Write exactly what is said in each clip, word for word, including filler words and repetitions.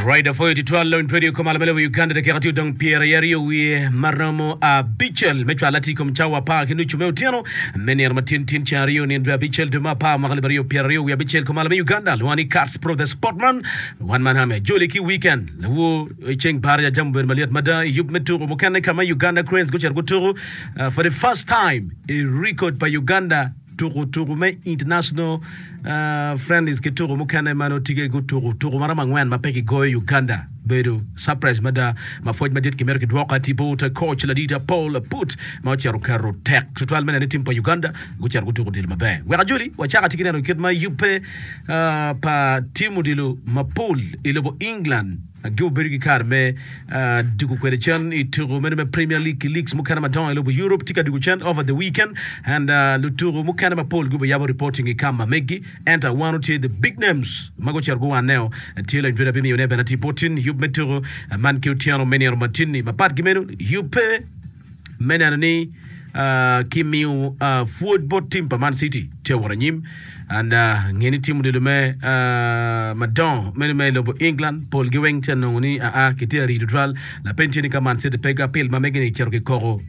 Right, afoyo tutwal Lony Radio kom malo me lobo Uganda dakika tye odong pyera aryo wiye maromo abicel me cwalo atir kom cawa apar ki nucu me otyeno me nino ma tin tin ceng aryo nino dwe abicel dwe me apar mwaka alip aryo pyera aryo wiye abicel kom malo me Uganda lwonga ni Kats Pro the Sportman wan man hame joli ki weekend lawo ceng baraja jam obedo malyet mada i yub me tuko mukene ka ma Uganda Cranes gucito gutuko uh, for the first time i record pa Uganda tuko tuko me international uh, friendlies ki tuko mukene ma nongo tye gutuko tuko maromo angwen ma pe kigoyo Uganda bedo surprise mada ma pwoc madit kimito kidwoko ati bot coach ladita Paul Put ma ocito oketo tek tutwal me neno ni tim pa Uganda gucito gutuko odilo maber wek ajoli wacako atye ki neno kit ma yubbe uh, pa tim odilo mapol i lobo England Gibedo ki kare me dwogo kwede cen i tuko meno me Premier League ki leagues mukene madongo i lobo Europe tye ka dwogo cen over the weekend and lutuko mukene mapol gubiyabo reporting i kam ma megi ento awano tye the big names ma gucito guwaneo tye lony tweda bimiyone bene atir bot tin yub me tuko man ki otyeno me nino matin-ni mapat ki meno yubbe me neno ni kimiyo pwod bot tim pa Man City tye wot anyim and nge ni tim odilo me madongo meno me lobo England polgi weng tye nongo ni aa kitye arido twal lapeny tye ni ka Man City pe ki apil ma megi ni cito kikoko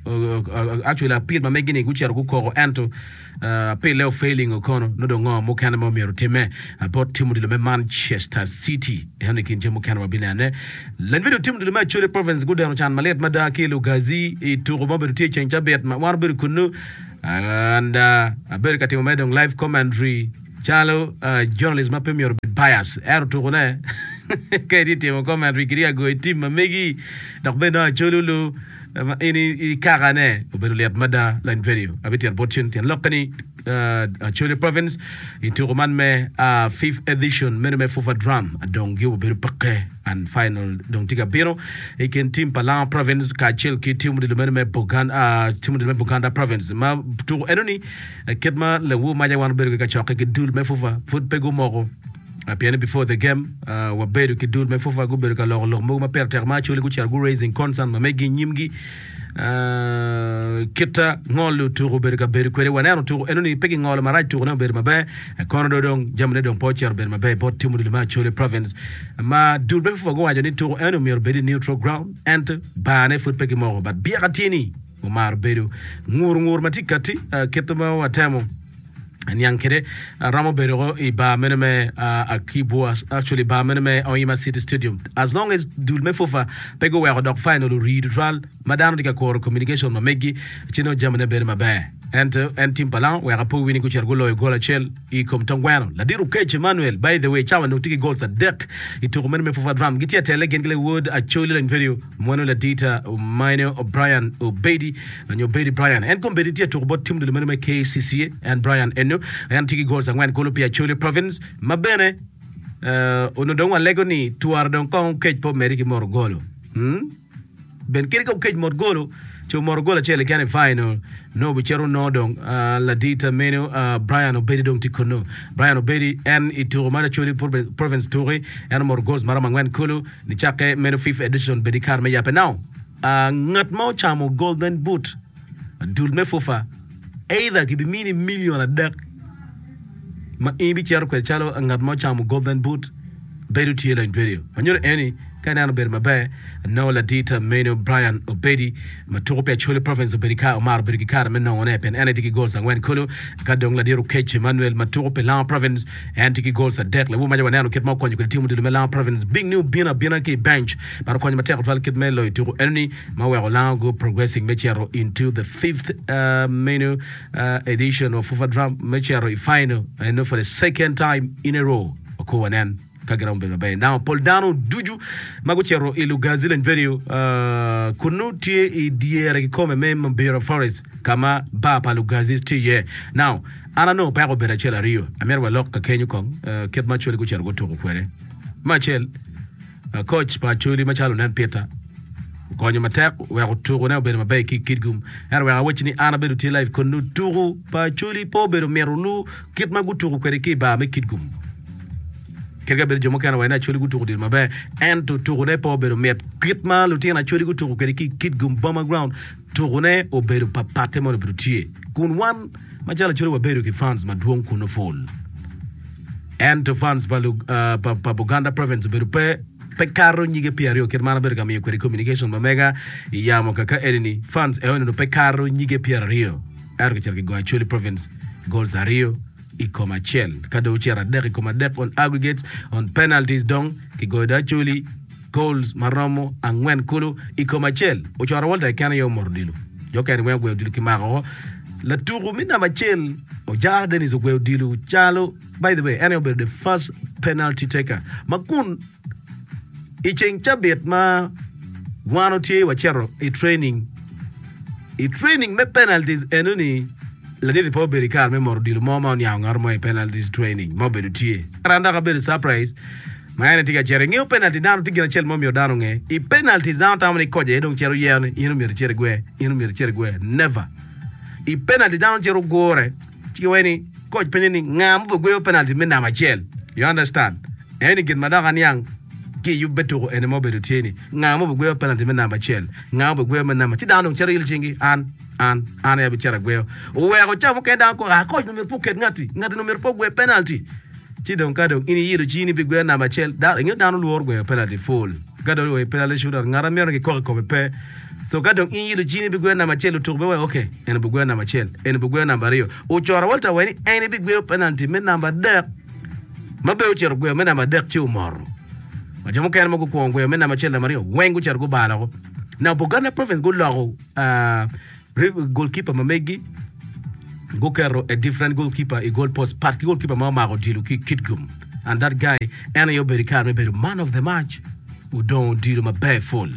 actually apil ma megi ni gucito gukoko ento apille ofailing okono nongo dong ngo mukene ma omyero otimme bot tim odilo me Manchester City eno i kin jami mukene wabinene lany video tim odilo me Acholi Province gudeno can malit mada ki i Lugazi i tuko ma obedo tye i ceng cabit ma wan obedo kunnu and abedo ka timo mere dong live commentary calo journalist ma pe myero obed bias ento tukone ka itye timo commentary kitye ka goyo tim ma megi dok bene nongo Acholi olu ma in i kakane obedo lit mada lany video abitito bot cen tyen lokke ni Acholi Province i tuko man me fifth edition meno me FUFA Drum dong gi obedo peke and final dong tye ka bino i kin team pa Lango Province kacel ki team odilo meno me Buganda team odilo me Buganda Province ma tuko eno ni kit ma lawu maca wan obedo ki kacokke ki dul me FUFA pud pe gumoko pien ni before the game wabedo ki dul me FUFA gubedo ka loko lok mogo ma pire tek ma actually gucito gu raising concern ma megi nyimgi kita ngolo tuko obedo ka bedo kwede waneno tuko eno ni pe gingolo marac tuko ne obedo maber kono do dong jamine dong pe ocito obedo maber bot tim odilo me Acholi Province ma dul me FUFA guwaco ni tuko eno myero obed i neutral ground ento bar ne pud pe gimoko but byeka tye ni omaro bedo ngur ngur ma tye kati kit ma watemo niang kede romo bedo i bar meno me Akibwa actually bar meno me Oima City Stadium as long as dul me FUFA pe guweko dok final ori tutwal ma dano tye ka kuro communication ma megi ci nongo jamine bedo maber ento en tim pa Lango wek apo wini gucito guloyo gol acel i kom tongweno ladit Okech Emmanuel by the way cawa dong tye ki goals adek i tuko meno me FUFA Drum gitye atele gin ki lawod Acholi lony video mweno ladita Minor O'Brien Obedi nyo Obedi Brian en kombeddi tye atuko bot tim dul meno me K C C A en Brian eno en tye ki goals angwen kulu pi Acholi Province ma bene uh, onongo dong walego ni twara dong kong Okech po medi ki moro golo hmm? Ben kadi ka Okech mot golo ci omoro gol acel keken i final no bicito no dong uh, ladita meno uh, Brian Obedi dong tye kunnu Brian Obedi en i tuko mar Acholi Province tuki en omoro goals maromo angwen kulu nicakke meno fifth edition bedi kare me yape now uh, ngat ma ocamo golden boot dul me FUFA either kibimini million adek ma in ibicito kwede calo ngat ma ocamo golden boot bedo tye lony video manyuto eni ka ineno bedo maber no ladita meno Brian Obedi ma tuko pi Acholi Province obedi ka omaro bedo ki kare me nongone pien en tye ki goals angwen kulu ka dong ladit Okech Emmanuel ma tuko pi Lango Province en tye ki goals adek lawu maca waneno kit ma okonyo kwede tim odilo me Lango Province bing ni obino abina ki i bench but okonyo matek tutwal kit me loyo tuko enoni ma oweko Lango go progressing me cito into the fifth uh, menu uh, edition of FUFA Drum me cito i final eno for the second time in a row oko wanen ka giromo bedo maber now pol dano ducu ma gucito i Lugazi Lony Video uh, kunu tye i dyere kikome me Mabira Forest kama bar pa Lugazi tye iye now an anongo peko obedo acel aryo amyero walok ka kenyo kong uh, kit ma Acholi gucito gutuko kwede me acel uh, coach pa Acholi macalo onen Peter okonyo matek weko tukone obedo maber ki Kitgum ento wek awacci ni an abedo tye live kunu tuku pa Acholi pe obedo mito lu kit ma gutuko kwede ki i bar me Kitgum kadi ka bedo jo mukene waco ni Acholi gutuko odilo maber ento tukone pe obedo mit kit ma lutino Acholi gutuko kwede ki Kitgum Boma Ground tukone obedo papatte ma obedo tye kun wan macalo Acholi wabedo ki fans madwong kunu full ento fans pa, uh, pa, pa Buganda Province obedo pe Pe kato nyige pyeraryo kit ma an abedo ka miyo kwede communication ma mega i yamo kaka eni-ni, fans eno ni pe kato nyige pyeraryo. Ento kicito kigoyo Acholi Province goals aryo i kom acel. Ka dong ocito adek i kom adek on aggregates, on penalties dong kigoyo dong Acholi goals ma romo angwen kulu i kom acel. Ocoro Walter keken aye omoto odilo. Jo okene weng ogweyo odilo kimako woko. Latuku me namba acel Ojara Dennis ogweyo odilo calo by the way en aye obedo the first penalty taker ma kun i ceng cabit ma wan otye wacito i training i training me penalties enoni ladit-ti pe obedo i kare me moto odilo mo ma oniango ngat mo i penalties training ma obedo tye. An dok abedo surprise ma en aye tye ka cito ingeyo penalty dano tye gin acel ma omyero dano onge i penalties dano tamo ni koc aye dong cito yero ni in omyero icit igwe in omyero icit igwe never i penalty dano cito gure ci giwaco ni koc penyo ni nga ma obigweyo penalty me namba acel you understand eni gin ma dok aniang ki i yub me tuko eni ma obedo tye ni nga ma obigweyo penalty me namba acel nga ma obigweyo me namba ci dano dong cito ilo cingi an an an aye abicito agweyo oweko ca mukene dano koko ah koc myero pe oket ngati ngati ni myero pe ogwe penalty Ci dong ka dong in iyilo cini pi gweyo namba acel, dano, ingeyo dano lworo gweyo penalty full. Ka dong i penalty shootout, ngat a mito ni kikok i kome pe. So ka dong in iyilo cini pi gweyo namba acel, lutuku bene waco, ok, en obigweyo namba acel, en obigweyo namba aryo. Ocoro Walter waco ni en ebigweyo penalty me namba adek, ma bene ocito ogweyo me namba adek ci omoto. Ma jo mukene ma gukwongo gweyo me namba acel, namba aryo, weng gucito gubalo woko. Now Buganda Province guloko ah, Goalkeeper ma megi guketo a different goalkeeper i goal post pat ki goalkeeper ma omako odilo ki Kitgum and that guy en aye obedo i kare me bedo man of the match odongo odilo maber full.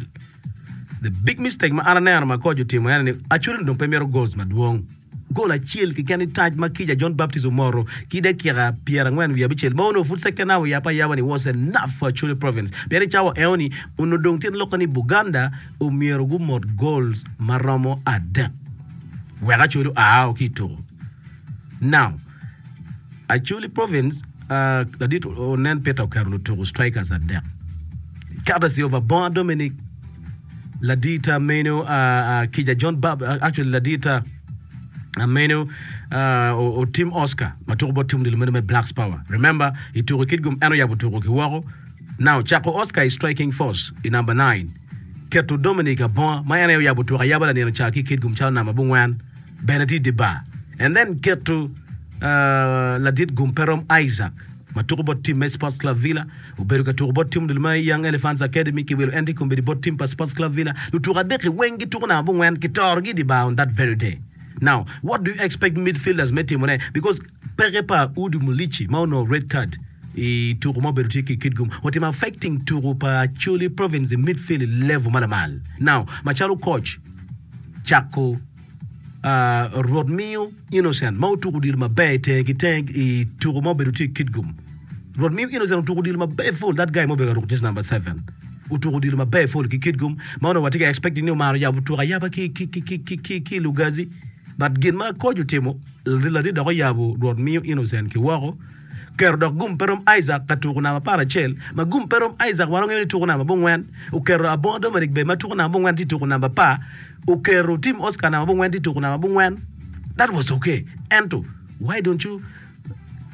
The big mistake ma an aneno ma coach otimo en ni actually dong pe mito goals madwong. Goal acel keken i tac ma Kica John Baptist omoto ki dakika pyerangwen wiye abicel ma onongo pud second half oyabbe ayaba ni was enough for Acholi Province pien i cawa eoni onongo dong tyen lokke ni Buganda omyero gumot goals ma romo adek wek Acholi oa ki i tuko. Now, Acholi Province, uh, ladit Onen Peter oketo lutuku strikers adek. Courtesy of Abonga Dominic, ladita meno uh, uh, Kija John Bab, uh, actually ladita uh, meno uh, Otim Oscar ma tuko bot tim odilo meno me Blacks Power. Remember, i tuko i Kitgum en oyabo tuko ki woko. Now, cako Oscar i striking force i number nine. Keto Dominic Abonga ma en aye oyabo tuko ayaba lanino ca ki Kitgum calo namba abongwen bene tye i dye bar and then keto ladit gum pe rom Isaac ma tuko bot tim me Sports Club Villa obedo ka tuko bot tim odilo me Young Elephants Academy ki wilo en tye kombeddi bot tim pa Sports Club Villa lutuko adek-ki weng gituko namba abongwen kitorogi i dye bar on that very day now what do you expect midfielders me timone because Peke pa Udu Mulici ma onongo red card i tuku ma obedo tye ki Kitgum otimo affecting tuku pa Acholi Province i midfield i level ma lamal. Now, macalo coach, cako Rwot miyo Innocent ma otuko odilo maber i tenge ki tenge i tuku ma obedo tye i Kitgum. Rwot miyo Innocent otuko odilo maber full, that guy ma obedo ka ruko jersey number seven otuko odilo maber full ki Kitgum ma onongo watye ka expecting ni omaro yabo tuko ayaba ki ki Lugazi but gin ma coach otimo Ladit dok oyabo Rwot miyo Innocent ki woko, oketo dok gum pe rom Isaac ka tuko namba apar acel, ma gum pe rom Isaac wan wangeyo ni tuko namba abongwen, oketo Abonga Dominic bene ma tuko namba abongwen tye tuko namba apar, oketo Tim Oscar namba abongwen tye tuko namba abongwen. That was okay. Ento why don't you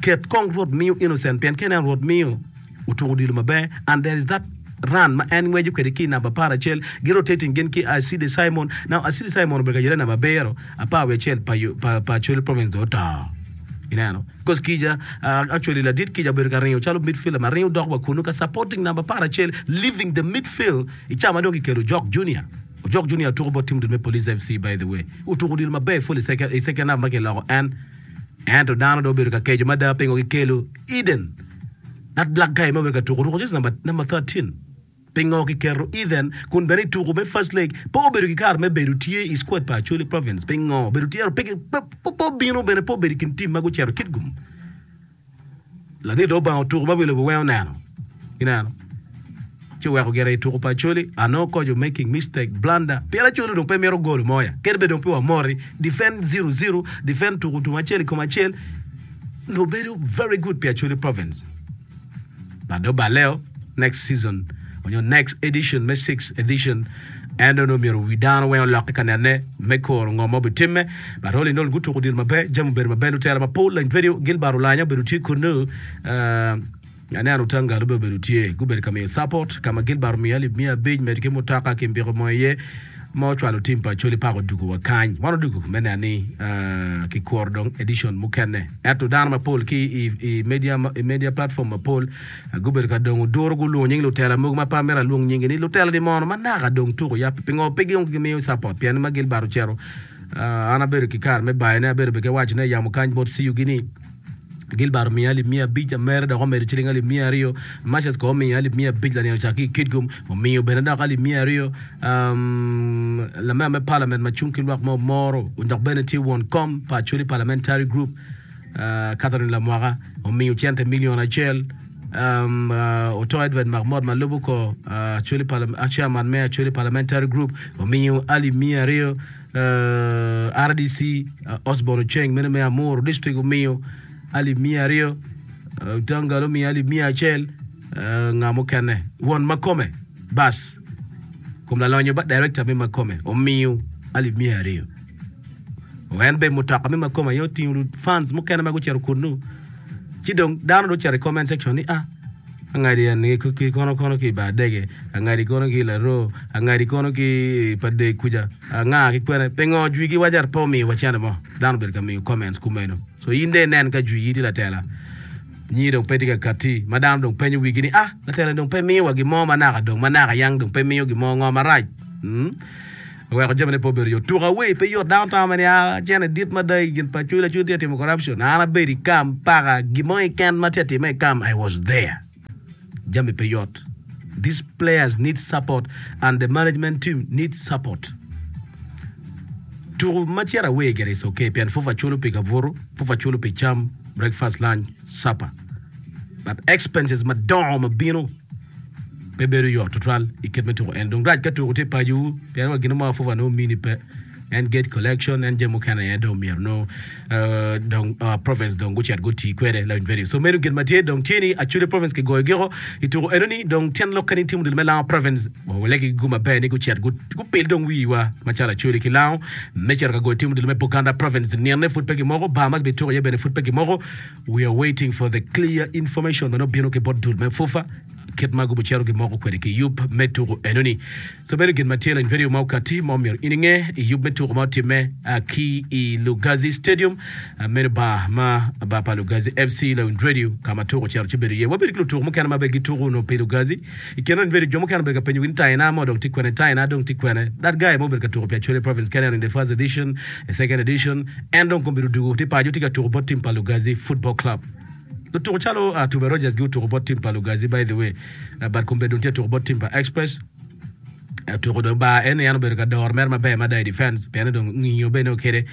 ket kong Rwot miyo Innocent pien ka ineno Rwot miyo otuko odilo maber and there is that run ma en ngweco kwede ki i namba apar acel gi rotating gin ki Acide Simon now Acide Simon obedo ka yelle namba abiro apar wiye acel pa pa pa Acholi province dong oto ineno because kica uh, actually ladit kica obedo ka ringo calo midfielder ma ringo dok wa kunu ka supporting namba apar acel leaving the midfield i ca ma dong kikelo Ojok Junior Ojok Junior otuko bot team dul me Police F C by the way otuko odilo maber full i second, i second half ma kiloko en ento dano dong obedo ka keco mada pingo kikelo Eden That black guy ma obedo ka tuko ruko jersey number number thirteen pingo kiketo Ethan kun bene i tuko me first leg pe obedo ki kare me bedo tye i squad pa Acholi Province pingo obedo tye ento pe pe obino bene pe obedo i kin team ma gucito Kitgum ladit dong obango tuko ma wi lobo weng oneno ineno ci oweko gire i tuko pa Acholi anongo koco making mistake blunder pien Acholi dong pe mito golo mo ya kadi bed dong pe wamoti defend zero zero defend tuko tum acel i kom acel Nongo bedo very good pi Acholi province but dong obaleo next season onyo next edition me sixth edition en dong nongo myero wi dano weng olokke ka nene me kuro ngo ma obitimme but all in all gutuko odilo maber jami obedo maber lutela mapol lany video Gilbert Olanya obedo tye kunnu uh, Aneno Otangalo bene obedo tye. Gubedo ka miyo support ka ma Gilbert omiyo alip miya abic medo ki mutoka ki mbiko mo iye ma ocwalo tim pa Acholi Park odugo wa kany. Wan odugo me neno ni kikuro dong edition mukene. Ento dano mapol ki i media i media platform mapol gubedo ka dongo duro gulwongo nying lutela mogo ma pe amito alwong nyingi ni lutela ni mono ma naka dong tuko ya pingo pe gimiyo support pien ma Gilbert ocito an abedo ki kare me bayone abedo bene ki wacone yamo kany bot C U gi ni Gilbert omiyo alip miya abic, Amere dok omedo ciling alip miya aryo, Marcius kono omiyo alip miya abic lanino ca ki i Kitgum omiyo bene dok alip miya aryo, Lamemba me Parliament ma cung ki lwak me Omoro dok bene tye won kom pa Acholi Parliamentary Group Catherine Lamwaka omiyo cente milion acel, Oto Edward Makmot ma lubo kor Acholi Chairman me Acholi Parliamentary Group omiyo alip miya aryo, R D C Osborne Ocheng meno me Amuru District omiyo alip miya aryo, Otangalo omiyo alip miya acel, nga mukene won makome bas kom lalonyo ba director me makome omiyo alip miya aryo. En bene mutoka me makome aye otingo fans mukene ma gucito kunnu ci dong dano dong ocito i comment section ni ah Angadi en ki kono kono ki i bar dege, angadi kono ki i laroo, angadi kono ki i pa deg kuca, anga ki kwene. Pingo jwigi waco ento pe omiyo wa cente mo? Dano obedo ka miyo comments kumeno. So in dong inen ka jwigi tye latela, nyingi dong pe tye ka katti, ma dano dong penyo wigi ni ah, latela ni dong pe miyo wa gin mo ma naka dong, ma naka yang dong pe miyo gin mo, ngo marac? Hmm? Oweko jamine pe obedo yot. Tuko away pe yot. Dano tamo ni ah, cene dit mada i gin pa Acholi, Acholi tye ka timo corruption. An abedo i kam paka gin mo keken ma tye ka timme i kam, I was there. Jami pe yot. These players need support and the management team need support. Tuko ma cito away gire is okay pien fufa culo pi kabuto, fufa culo pi cam, breakfast, lunch, supper. But expenses madongo ma bino Pe bedo yot tutwal i kit me tuko en. Dong rac ka tuko tye pacowu pien wa gin mo afufa nongo mini pe. En gate collection, en jami mukene aye dong myero nongo dong province dong gucit guti kwede lawiny radio. So meno gin ma tye dong tye ni Acholi province kigoyo giko i tuko eno ni dong tyen lokke ni timo dul me Lango province walegi gi gum maber ni gucit gupil dong wiwa macalo Acholi ki Lango me cito ka goyo timo dul me Buganda province. Nino ne pud pe gimoko, bar ma gibituko iye bene pud pe gimoko. We are waiting for the clear information ma nongo bino ki bot dul me FUFA kit ma gubicito gimoko kwede ki yub me tuko enoni. So meno gin ma tye lany video ma okati ma omyero in inge i yub me tuko ma otimme ki i Lugazi Stadium meno bar ma bar pa Lugazi F C Lawiny Radio ka ma tuko ocito ci bedo iye. Wabedo ki lutuko mukene ma bene gituko onongo pi Lugazi. I kine lawiny video jo mukene obedo ka penyo gi ni Taina mo dong tye kwene, Taina dong tye kwene. That guy ma obedo ka tuko pi Acholi Province Kenya in the first edition, the second edition, en dong kombeddi odugo tye paco tye ka tuko bot team pa Lugazi Football Club. Lutuko calo Tuba Rogers gi otuko bot team pa Lugazi by the way, but kombeddi dong tye ka tuko bot team pa Express. Otuko dong bar en ni en obedo ka doro mere maber mada i defense pien dong ngiyo bene okede.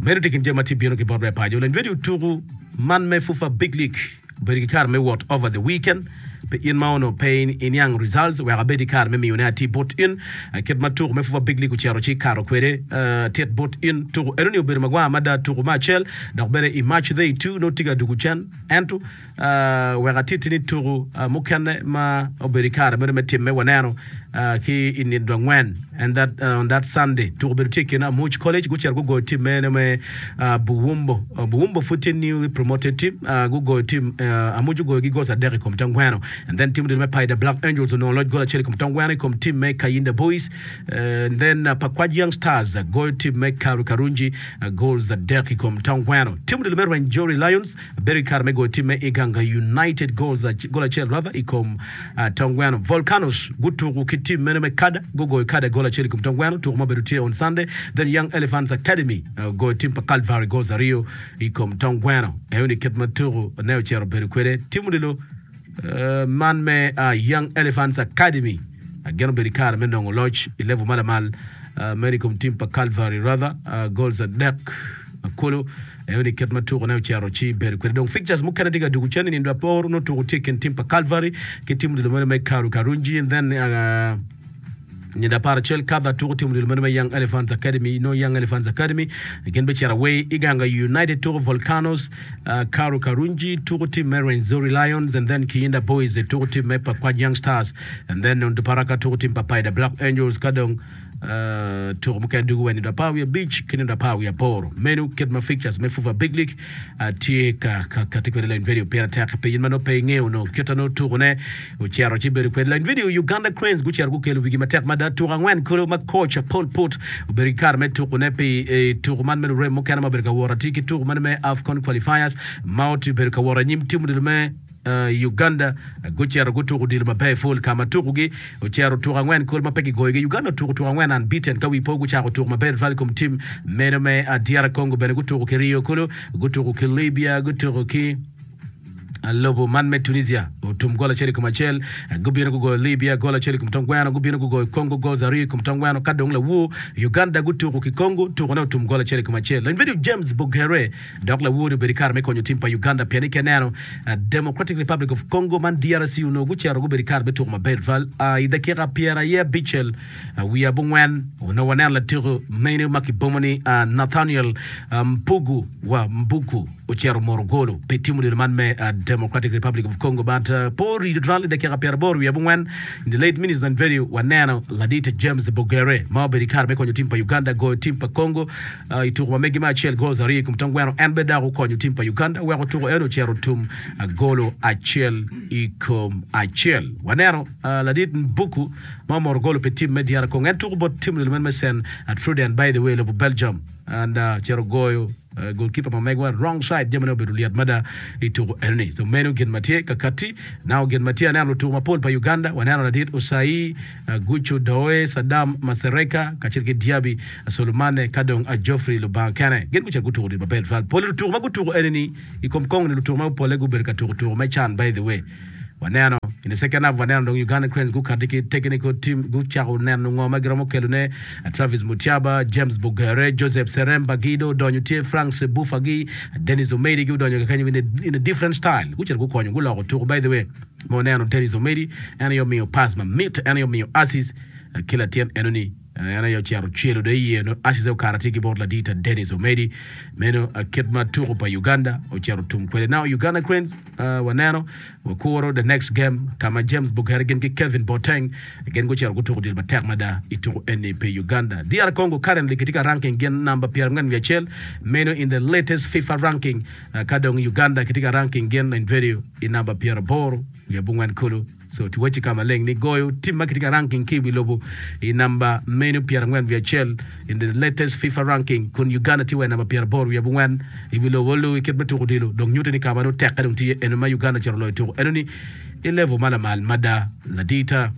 Meno tye kin jami ma tye bino ki bot me paco. Lany radio otuko man me FUFA Big League obedo ki kare me wot over the weekend pi in ma onongo pe iniang results wek abed ki kare me miyone atir bot in kit ma tuko me FUFA Big League ocito ci kato kwede tit bot in. Tuko enoni obedo magwar mada tuko me acel dok bene i March day two nongo tye ka dugo cen ento wek atitti ni tuko mukene ma obedo i kare meno me timme waneno ki i nino angwen and that on that Sunday tuko obedo tye i kin Amuc College gucito gugoyo team meno me Buwumbo Buwumbo pud tye newly promoted team gugoyo team Amuc ogoyo gi goals adek i kom Tongweno and then team odilo me Paida Black Angels onongo loc goal acel i kom Tongweno i kom team me Kayinda Boys and then Pakwach Young Stars goyo team me Karu Karunji goals adek i kom Tongweno team odilo me Rwenzori Lions Bedo ki kare me goyo tim me Iganga United goals gol acel rather i kom Tongweno. Volcanoes gutuku ki tim meno me Kada, gugoyo Kada gol acel i kom Tongweno, tuku ma obedo tye on Sunday. Then Young Elephants Academy ogoyo tim pa Calvary goals aryo i kom Tongweno. Enoni kit ma tuku ne ocito obedo kwede. Tim odilo man me Young Elephants Academy gin obedo ki kare me nongo loc i level ma lamal meno i kom tim pa Calvary rather goals adek kulu. Aye ni kit ma tukone ocito ci bedo kwede. Dong fixtures mukene tye ka dugo cen i nindo apor nongo tuko tye i kin tim pa Calvary ki tim odilo meno me Karu Karungi and then uh, nindo apar acel Kadha tuko tim odilo meno me Young Elephants Academy nongo Young Elephants Academy gin bicito away Iganga United tuko Volcanoes uh, Karu Karungi tuko tim me Rwenzori Lions and then Kiyinda Boys tuko tim me Pakwach Young Stars and then Onduparaka tuko tim pa Paida Black Angels ka dong Tuko mukene dugo wa i nino apar wiye abic ki nino apar wiye aboro. Meno kit ma fixtures me FUFA Big League tye ka kati kwede. Lany video pire tek pi in ma nongo pe ingeyo onongo kit ma nongo tukone ocito ci bedo kwede. Lany video Uganda Cranes gucito gukelo wigi matek mada tuko angwen kulu ma coach Paul Put obedo ki kare me tukone pi tuko man me lurem mukene ma obedo ka wot atir ki tuko man me AFCON qualifiers ma obedo ka wot anyim tim odilo me Uganda gucito gutuko odilo maber pul ka ma tukogi ocito tuko angwen kulu ma pe kigoyogi. Uganda otuko tuko angwen unbeaten ka wi po gucako tuko maber tutwal i kom tim meno me D R Congo bene gutuko ki Rio kulu, gutuko ki Libya, gutuko ki lobo man me Tunisia otum gol acel i kom acel, gubino gugoyo Libya gol acel i kom tong gweno, gubino gugoyo Congo goals aryo i kom tong gweno ka dong lawur Uganda gutuko ki Congo tukone otum gol acel i kom acel. Lony video James Bogere dok lawur-ni obedo i kare me konyo tim pa Uganda pien ni ka ineno Democratic Republic of Congo man D R C onongo gucito gubedo i kare me tuko maber tutwal i dakika pyeraye abicel wiye abongwen onongo waneno latiko meno ma kibomo ni Nathaniel Mpugu wa Mbuku ocito omoro golo pi tim odilo man me Democratic Republic of Congo but pe orido tutwal i dakika pyeraboro wiye abongwen in the late minutes and video waneno ladit James Bogere ma obedo i kare me konyo tim pa Uganda goyo tim pa Congo I tuko ma megi me acel goals aryo i kom tong gweno, en bene dok okonyo tim pa Uganda weko tuko eno ocito tum golo acel i kom acel. Waneno ladit Mbuku ma omoro golo pi tim me D R Congo. En tuko bot tim odilo meno me Saint Truiden by the way lobo Belgium and ocito goyo goalkeeper ma megwa wrong side jamine obedo lyet mada i tuko enoni. So meno gin ma tye kakati. Now gin ma tye aneno lutuko mapol pa Uganda waneno ladit Osayi Gucu Doe, Saddam Masereka kacel ki Diaby Solomane ka dong Geoffrey Lubanga kene gin gucito gutuko odilo maber tutwal. Pole lutuko ma gutuko enini i kom Congo ni lutuko ma pole gubedo ka tuko tuko me can by the way. Waneno in the second half waneno dong Uganda Cranes gukati ki technical team gucako neno ngo ma giromo kelone Travis Mutyaba, James Bogere, Joseph Seremba gi dong odonyo tye Frank Sebufa gi Dennis Omedi gi odonyo kakenyo in a, in a different style gucito gukonyo guloko tuko by the way ma waneno Dennis Omedi en aye omiyo pass mamit en aye omiyo assist ki latin enoni en aye ocito ocelo do iye no assist okato tye ki bot ladita Dennis Omedi meno kit ma tuko pa Uganda ocito tum kwede now Uganda Cranes uh, waneno wakuro the next game ka ma James Bogere gin ki Kevin Boateng gin gucito gutuko odilo matek mada i tuko eni pi Uganda. D R Congo currently gitye ka ranking gin namba pyerangwen wiye acel meno in the latest FIFA ranking uh, ka dong Uganda gitye ka ranking gin in video i namba pyeraboro wiye abongwen kulu. So tiwacci ka maleng ni goyo tim ma kitye ka ranking ki i wi lobo i namba meno pyerangwen wiye acel in the latest FIFA ranking kun Uganda tye wa i namba pyeraboro wiye abongwen i wi lobo olu i kit me tuko odilo dong nyuto ni ka ma nongo tekke dong tye eno ma Uganda ocito loyo tuko eno ni i level ma lamal mada ladita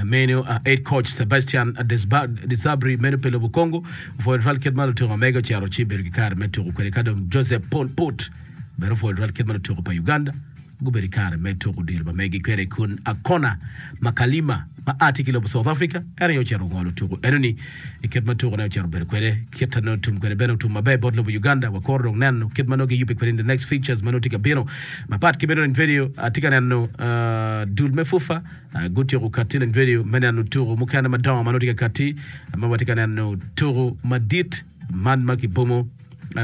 meno head coach Sebastian Desabre meno pe lobo Congo opwoyo tutwal kit ma lutuko mege ocito ci bedo ki kare me tuko kwede ka dong Joseph Paul Put bene opwoyo tutwal kit ma lutuko pa Uganda gubedo i kare me tuko odilo ma megi kwede kun Akona Makalima ma a tye ki lobo South Africa en aye ocito ongolo tuko enoni i kit ma tukone ocito obedo kwede kit ma nongo tum kwede bene otum maber bot lobo Uganda wakuro dong neno kit ma nongo giyubbe kwede in the next fixtures ma nongo tye ka bino mapat ki bedo lony video atye ka neno dul me FUFA gutyeko kati lony video me neno tuko mukene madongo ma nongo tye ka kati ma watye ka neno tuko madit man ma kibomo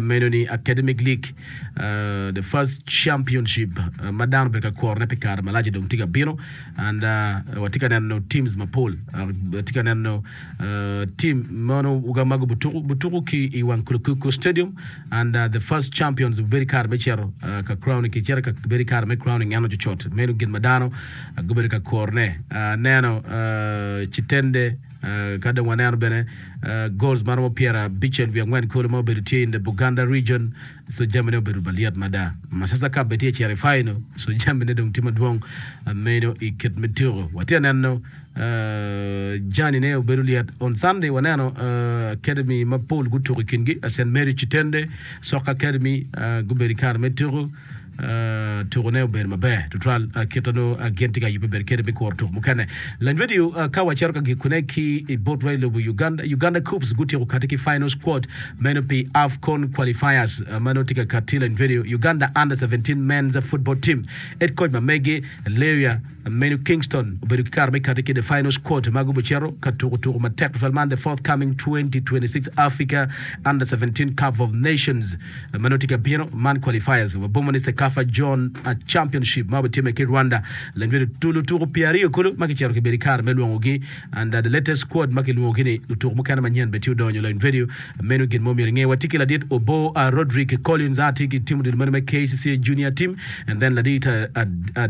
meno ni Academic League uh, the first championship uh, ma dano obedo ka kurone pi kare malac dong tye ka bino and uh, watye ka neno teams mapol uh, watye ka neno uh, team meno ma gubutuku butuku ki i Wankulukuku Stadium and uh, the first champions obedo kare me cito uh, ka crowning ki cito ka bedo kare me crowning en ocucut meno gin ma dano uh, gubedo ka kurone uh, neno uh, Chitende uh, ka dong waneno bene uh, goals ma romo pyerabicel wiye angwen kulu ma obedo tye in the Buganda region so jamine obedo malyet mada Masasa Cup bene tye cito i final so jamine dong tye madwong uh, meno i kit me tuko watye neno uh, jani ne obedo lyet on Sunday waneno uh, academy mapol gutuko i kingi Saint Mary Chitende Soccer Academy uh, gubedo i kare me tuko Uh, tuko ne obedo maber tutwal uh, kit no uh, gin tye ka yubbe bedo kede me kuro tuko mukene lany video uh, ka wacito ka gikune ki i bot wa i lobo Uganda Uganda Coops gutyeko kati ki final squad meno pi AFCON qualifiers uh, ma nongo tye ka kati lany video Uganda under seventeen men's football team head coach ma megi Leria meno Kingston obedo ki kare me kati ki the final squad ma gubicito ka tuko tuko matek tutwal man the forthcoming twenty twenty-six Africa under seventeen Cup of Nations uh, ma nongo tye ka bino man qualifiers wabomo ni CECAFA Zone Championship ma obitimme ki Rwanda. Lutuku pyeraryo kulu ma kicito kibedo i kare me lwongogi and the latest squad ma kilwongogi ni lutuku mukene manyen bene tye odonyo lony radio. Meno gin mo myero inge. Watye ki ladit Obo Rodrick Collins a tye ki timo odilo meno me K C C A Junior Team and then ladit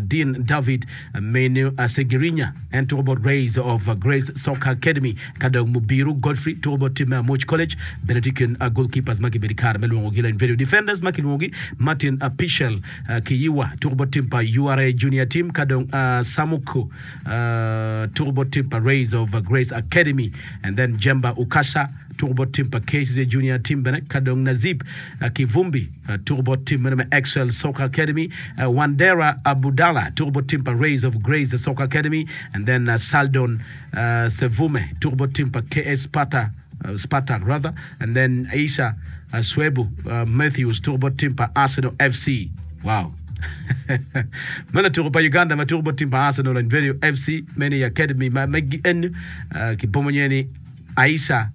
Dean David Menu Segirinya en tuko bot Rays of Grace Soccer Academy ka dong Mubiru Godfrey tuko bot tim me Amuc College bene tye i kin goalkeepers ma gibedo i kare me lwongogi lony video defenders ma kilwongogi Martin Pichel Kiyiwa tuko bot tim pa U R A Junior Team ka dong Samuku tuko bot tim pa Rays of Grace Academy and then Jemba Ukasa tuko bot tim pa K C C Junior Team bene ka dong Nazib Kivumbi tuko bot tim meno me Excel Soccer Academy, Wandera Abudala tuko bot tim pa Rays of Grace Soccer Academy and then Saldon Sevume tuko bot tim pa K S Sparta Spartak rather and then Isa Swebu Matthews tuko bot tim pa Arsenal F C. Wow. Meno tuko pa Uganda ma tuko bot tim pa Arsenal and Radio F C meno i academy ma megi eni kibomo nye ni Aisa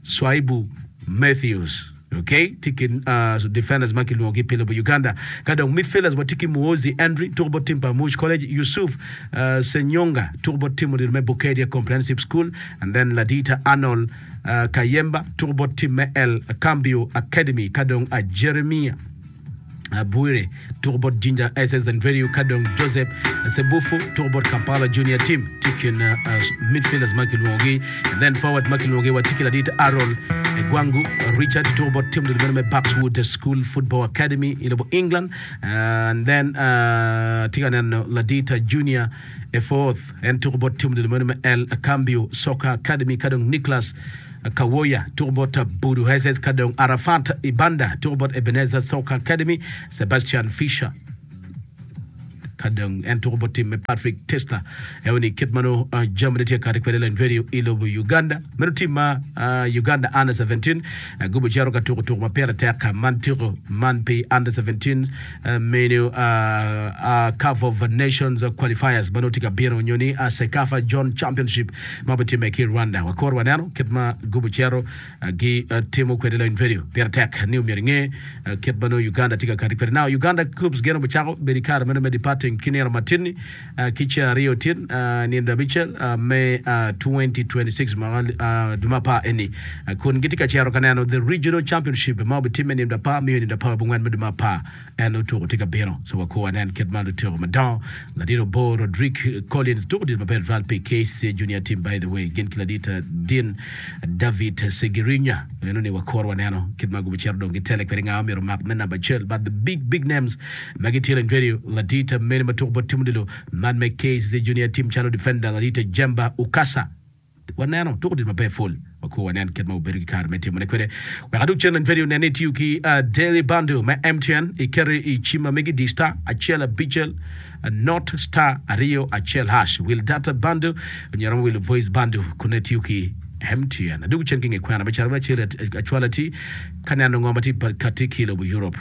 Swaibu Matthews. Okay, tye ki uh, defenders ma kilwongogi pi lobo Uganda. Ka dong midfielders watye ki Muozi Andrew tuko bot tim pa Amuc College, Yusuf uh, Senyonga tuko bot tim odilo me Bukedia Comprehensive School, and then Ladita Arnold uh, Kayemba tuko bot tim me El Cambio Academy, ka dong uh, Jeremia Bwire tuko bot Jinja S S and Radio, ka dong Joseph Sebufu tuko bot Kampala Junior Team tye kin uh, midfielders ma kilwongogi, and then forward ma kilwongogi watye ki ladit Arol Gwangu Richard tuko bot tim odilo me Buckswood School Football Academy i lobo England, uh, and then uh, tye ka neno ladit Junior Efourth en tuko bot tim odilo me El Cambio Soccer Academy, ka dong Nicholas Kawoya tuko bot Budu S S, ka dong Arafat Ibanda tuko bot Ebenezer Soccer Academy, Sebastian Fisher ka dong en tuko bot tim me Patrick Testa. Eoni kit mano uh, jami tye kati kwede len radio i lobo Uganda. Meno tim ma uh, Uganda under seventeen uh, gubo cero ka tuko tuko ma pire tek man tuko man pi under seventeen uh, meno uh, uh, Cup of Nations qualifiers mano tye ka bino nyoni uh, CECAFA Zone Championship ma bitimme ki Rwanda. Wakor waneno kit ma gubo cero uh, gi uh, timo kwede len radio pire tek ni omyero inge uh, kit mano Uganda tye ka kati kwede. Now Uganda Cubs geno bucako bedo i kare meno me departing kinero matini uh, kicha ariyo tin uh, nindo abichel uh, me uh, twenty twenty-six ma uh, duma pa eni uh, kun gitye ka cero ka neno the regional championship ma obitimme nindo apar miyo nindo apar abongwen me duma pa en otuko tye ka bino so wakor wanen kit ma lutuko madongo ladit Obo Rodrick Collins tuko dit maber twal pi K C Junior Team, by the way gin ki ladit Dean David Segirinya eno ni wakor waneno kit ma gubo cero dong gitele kwede nga omyero mak me namba achiel, but the big big names ma gitye en radio ladit mene ma tuko bot tim odilo man me K C Junior Team calo defender ladit Jemba Ukasa waneno tuko dit maber full wakor wanen kit ma obedo ki kare me timone kwede. Wek aduk cen radio nene tiyo ki uh, Daily Bundle me M T N ikeri i cima megi di star achiel abicel not star ariyo achiel hash will data bundle nyero will voice bundle kune tiyo ki M T N. Aduk cen ki nge kwena me caro me achiel achwala ti kaneno ngoma ti kati ki lobo Europe.